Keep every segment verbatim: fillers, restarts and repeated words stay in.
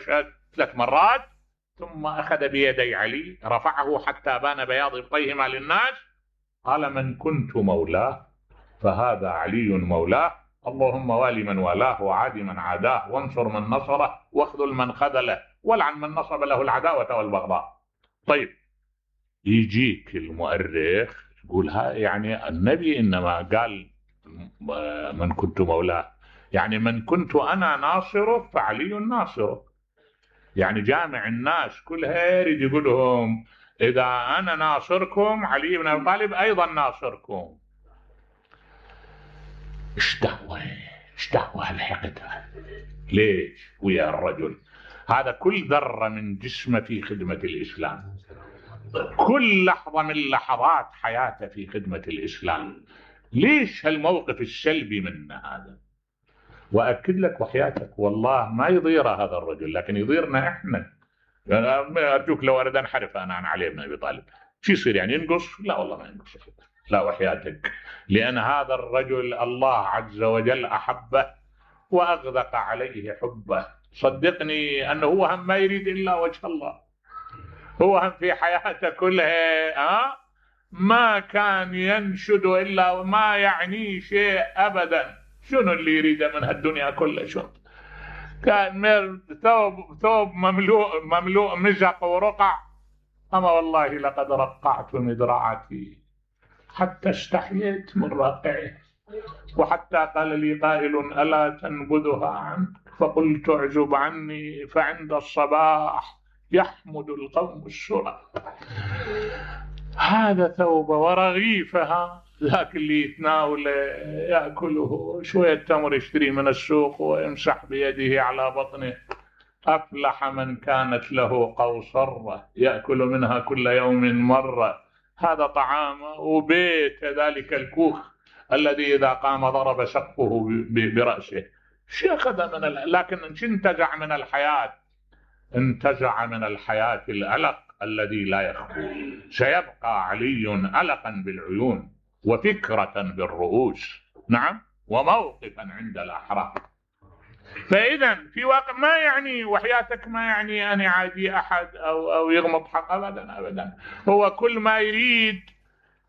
واشهد ثلاث مرات، ثم اخذ بيدي علي رفعه حتى بان بياض ابطيهما للناس، قال: من كنت مولاه فهذا علي مولاه، اللهم والي من والاه وعادي من عاداه وانصر من نصره واخذل من خذله والعن من نصب له العداوة والبغضاء. طيب يجيك المؤرخ يقول ها يعني النبي انما قال من كنت مولاه، يعني من كنت انا ناصره فعلي ناصره، يعني جامع الناس كلها يريد يقول لهم اذا انا ناصركم علي بن ابي طالب ايضا ناصركم. ايش دعوه ايش دعوه الحقد ليش ويا الرجل هذا؟ كل ذره من جسمه في خدمه الاسلام، كل لحظه من لحظات حياته في خدمه الاسلام. ليش هالموقف السلبي منه هذا؟ واكد لك وحياتك والله ما يضيره هذا الرجل، لكن يضيرنا احنا. ارجوك لو اريد انحرف انا عن علي بن ابي طالب شو يصير يعني؟ ينقص؟ لا والله ما ينقص، لا وحياتك، لان هذا الرجل الله عز وجل احبه واغدق عليه حبه. صدقني انه هو هم ما يريد الا وجه الله، هو هم في حياته كلها ها ما كان ينشد الا وما يعنيه شيء ابدا. شنو اللي يريده من هالدنيا كلها؟ شنو كان ثوب ثوب مملوء مملوء مزق ورقع، اما والله لقد رقعت مدرعتي حتى استحييت من رقعه، وحتى قال لي قائل: الا تنبذها عنك؟ فقلت: اعزب عني فعند الصباح يحمد القوم السرى. هذا ثوب ورغيفها، ذاك اللي يتناوله يأكله شوية تمر يشتري من السوق ويمسح بيده على بطنه. أفلح من كانت له قوصرة يأكل منها كل يوم مرة، هذا طعامه. وبيت ذلك الكوخ الذي إذا قام ضرب سقفه برأسه. شو أخذ من ال... لكن انتزع من الحياة، انتزع من الحياة الألق الذي لا يخفو. سيبقى علي ألقا بالعيون وفكرة بالرؤوس، نعم، وموقفا عند الأحرار. فإذا في واقع ما يعني وحياتك ما يعني أن يعادي أحد أو أو يغمض حق أبدا أبدا. هو كل ما يريد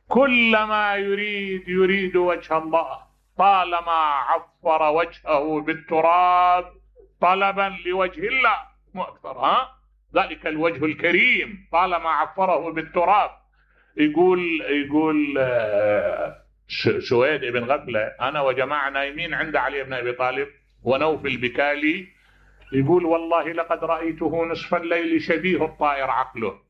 كل ما يريد يريد وجه الله، طالما عفر وجهه بالتراب طلبا لوجه الله مو أكثر. ها ذلك الوجه الكريم طالما عفره بالتراب. يقول يقول سويد بن غفلة: أنا وجماعة نايمين عند علي بن أبي طالب ونوفل بكالي، يقول: والله لقد رأيته نصف الليل شبيه الطائر عقله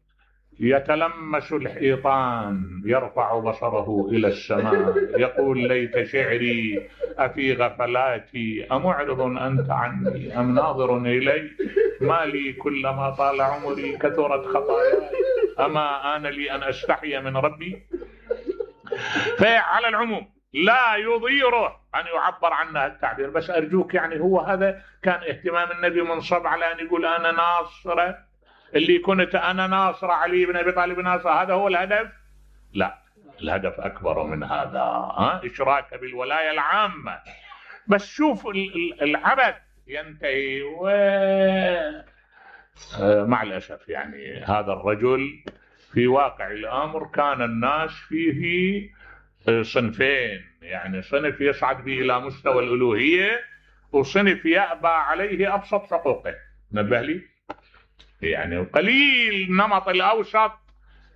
يتلمس الحيطان يرفع بصره إلى السماء يقول: ليت شعري أفي غفلاتي أمعرض أنت عني أم ناظر إلي؟ ما لي كلما طال عمري كثرت خطاياي أما آن لي أن أستحي من ربي. فعلى العموم لا يضيره أن يعبر عنه التعبير، بس أرجوك يعني هو هذا كان اهتمام النبي منصب على أن يقول أنا ناصره، اللي كنت أنا ناصر علي بن أبي طالب ناصر، هذا هو الهدف؟ لا، الهدف أكبر من هذا. ها؟ إشراك بالولاية العامة. بس شوف العبث ينتهي و... مع الأسف يعني هذا الرجل في واقع الأمر كان الناس فيه صنفين، يعني صنف يصعد به إلى مستوى الألوهية وصنف يأبى عليه أبسط حقوقه. نبه لي يعني قليل نمط الأوسط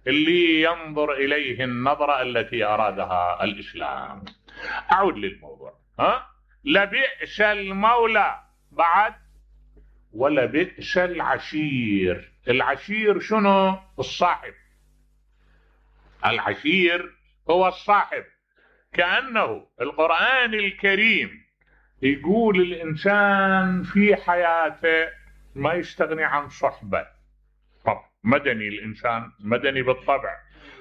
اللي ينظر إليه النظرة التي أرادها الإسلام. أعود للموضوع. ها لبئس المولى بعد ولبئس العشير. العشير شنو؟ الصاحب. العشير هو الصاحب. كأنه القرآن الكريم يقول الإنسان في حياته ما يستغني عن صحبة. طب مدني، الإنسان مدني بالطبع،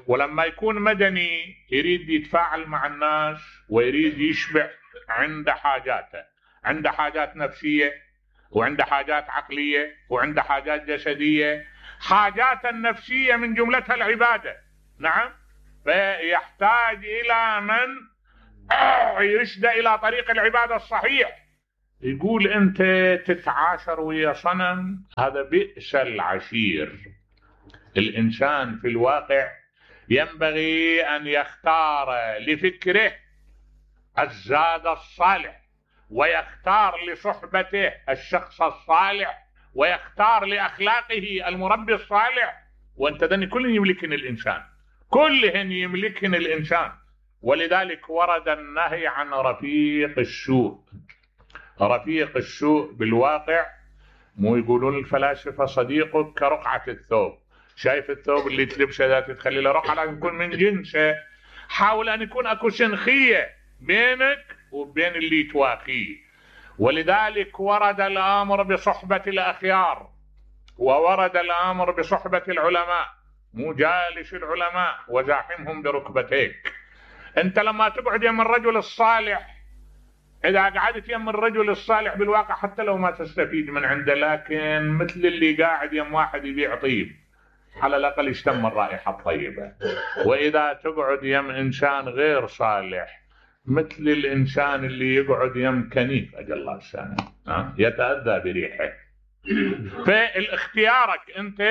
ولما يكون مدني يريد يتفاعل مع الناس ويريد يشبع عند حاجاته، عند حاجات نفسية وعند حاجات عقلية وعند حاجات جسدية. حاجات النفسية من جملتها العبادة، نعم، فيحتاج إلى من يرشد إلى طريق العبادة الصحيح. يقول أنت تتعاشر ويا صنم، هذا بئس العشير. الإنسان في الواقع ينبغي أن يختار لفكره الزاد الصالح، ويختار لصحبته الشخص الصالح، ويختار لأخلاقه المربي الصالح. وأنت ذني كل يملكن الإنسان، كلهن يملكن الإنسان. ولذلك ورد النهي عن رفيق السوء. رفيق السوء بالواقع مو يقولون الفلاسفة صديقك كرقعة الثوب. شايف الثوب اللي تلبسه اذا تخلي له رقعة لازم يكون من جنسه. حاول ان يكون اكو سنخية بينك وبين اللي تواخيه. ولذلك ورد الامر بصحبة الاخيار، وورد الامر بصحبة العلماء. مو جالس العلماء وزاحمهم بركبتيك. انت لما تقعد يم الرجل الصالح، اذا قعدت يم الرجل الصالح بالواقع حتى لو ما تستفيد من عنده، لكن مثل اللي قاعد يم واحد يبيع طيب، على الاقل يشتم الرائحة الطيبة. واذا تقعد يم انسان غير صالح، مثل الانسان اللي يقعد يم كنيف اجل الله السنة يتأذى بريحه. فالاختيارك انت،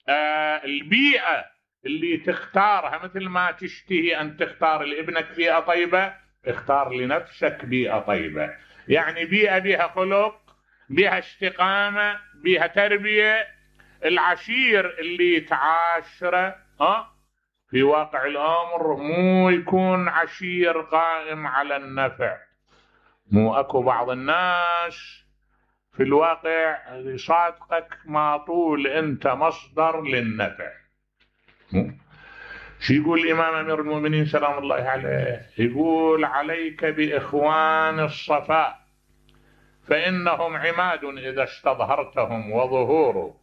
آه البيئة اللي تختارها، مثل ما تشتهي ان تختار لابنك بيئة طيبة، اختار لنفسك بيئة طيبة. يعني بيئة بها خلق، بها استقامة، بها تربية. العشير اللي تعاشره ها في واقع الامر مو يكون عشير قائم على النفع. مو اكو بعض الناس في الواقع يصادقك ما طول انت مصدر للنفع. شو يقول الامام امير المؤمنين سلام الله عليه؟ يقول عليك باخوان الصفاء فانهم عماد اذا استظهرتهم وظهور،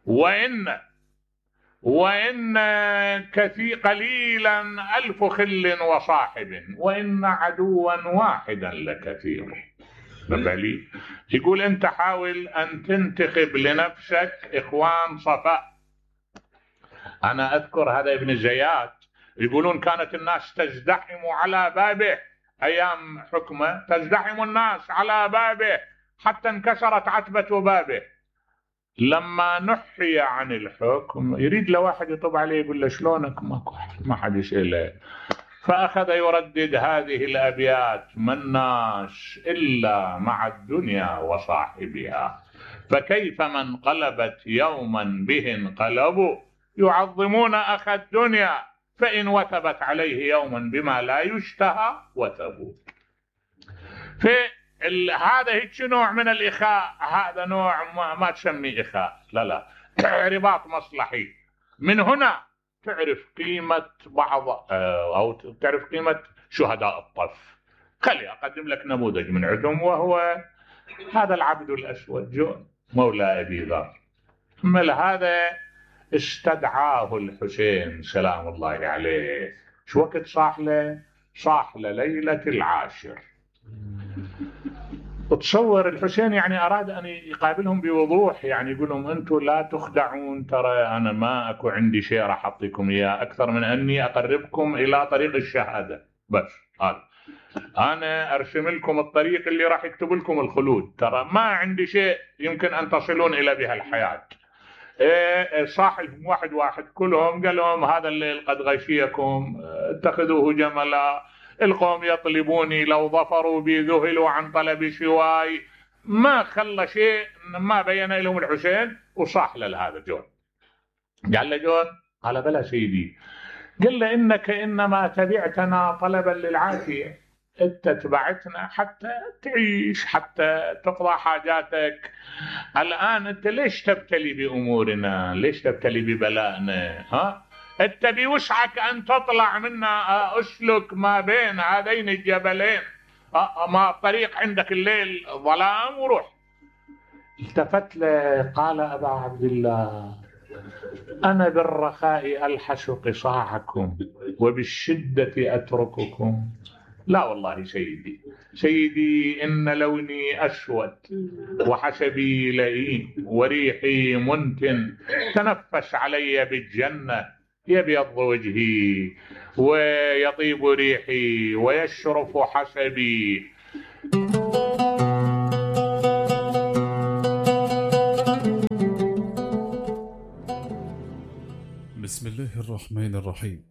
وان وان كثير قليلا الف خل وصاحب، وان عدوا واحدا لكثير. بلي يقول انت حاول ان تنتخب لنفسك اخوان صفاء. انا اذكر هذا ابن زيات يقولون كانت الناس تزدحم على بابه ايام حكمه، تزدحم الناس على بابه حتى انكسرت عتبة بابه. لما نحي عن الحكم يريد له واحد يطب عليه يقول له شلونك، ماكو ما حد يسأله. فأخذ يردد هذه الأبيات: ما الناس إلا مع الدنيا وصاحبها، فكيف من قلبت يوما به انقلبوا، يعظمون أخ الدنيا فإن وثبت عليه يوما بما لا يشتهى وثبوا. فهذا هيك نوع من الإخاء. هذا نوع ما, ما تسميه إخاء، لا لا رباط مصلحي. من هنا تعرف قيمة بعض أو تعرف قيمة شهداء الطف. خلي أقدم لك نموذج من عندهم، وهو هذا العبد الأسود جون مولى أبي ذر. مل هذا استدعاه الحسين سلام الله عليه. شو وقت صاح له؟ صاح له ليلة العاشر. تصور الحسين يعني أراد أن يقابلهم بوضوح، يعني يقول لهم أنتم لا تخدعون، ترى أنا ما أكو عندي شيء راح أعطيكم إياه أكثر من أني أقربكم إلى طريق الشهادة بس. هذا أنا أرسم لكم الطريق اللي راح يكتب لكم الخلود، ترى ما عندي شيء يمكن أن تصلون إلى بها الحياة. إيه صاحب واحد واحد كلهم قال لهم هذا الليل قد غشيكم، اتخذوه جملا، القوم يطلبوني لو ظفروا بي ذهلوا عن طلب شواي. ما خلى شيء ما بين لهم الحسين. وصاح له هذا جون. قال له جون، قال بلى سيدي. قال له إنك إنما تبعتنا طلبا للعافية، انت تبعتنا حتى تعيش، حتى تقضى حاجاتك. الآن انت ليش تبتلي بأمورنا؟ ليش تبتلي ببلائنا؟ ها انت بوسعك ان تطلع منا، اسلك ما بين هذين الجبلين، ما الطريق عندك الليل ظلام وروح. التفت له قال أبا عبد الله، أنا بالرخاء ألحس قصاعكم وبالشدة أترككم. لا والله سيدي، سيدي إن لوني أسود وحسبي لئيم وريحي منتن، تنفس علي بالجنة يبيض وجهي ويطيب ريحي ويشرف حسبي. الله الرحمن الرحيم.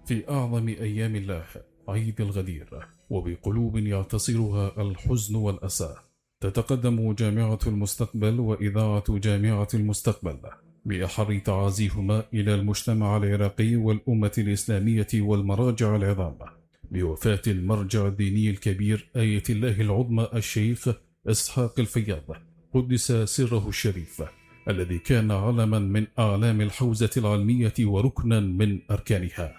في أعظم أيام الله عيد الغدير، وبقلوب يعتصرها الحزن والأسى، تتقدم جامعة المستقبل وإذاعة جامعة المستقبل بأحر تعازيهما إلى المجتمع العراقي والأمة الإسلامية والمراجع العظام بوفاة المرجع الديني الكبير آية الله العظمى الشيخ إسحاق الفياض قدس سره الشريف، الذي كان علما من أعلام الحوزة العلمية وركنا من أركانها.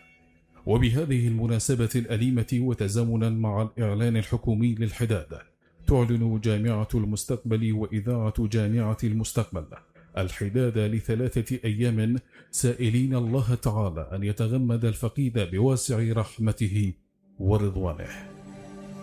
وبهذه المناسبة الأليمة وتزامنا مع الإعلان الحكومي للحداد، تعلن جامعة المستقبل وإذاعة جامعة المستقبل الحداد لثلاثة أيام، سائلين الله تعالى أن يتغمد الفقيد بواسع رحمته ورضوانه.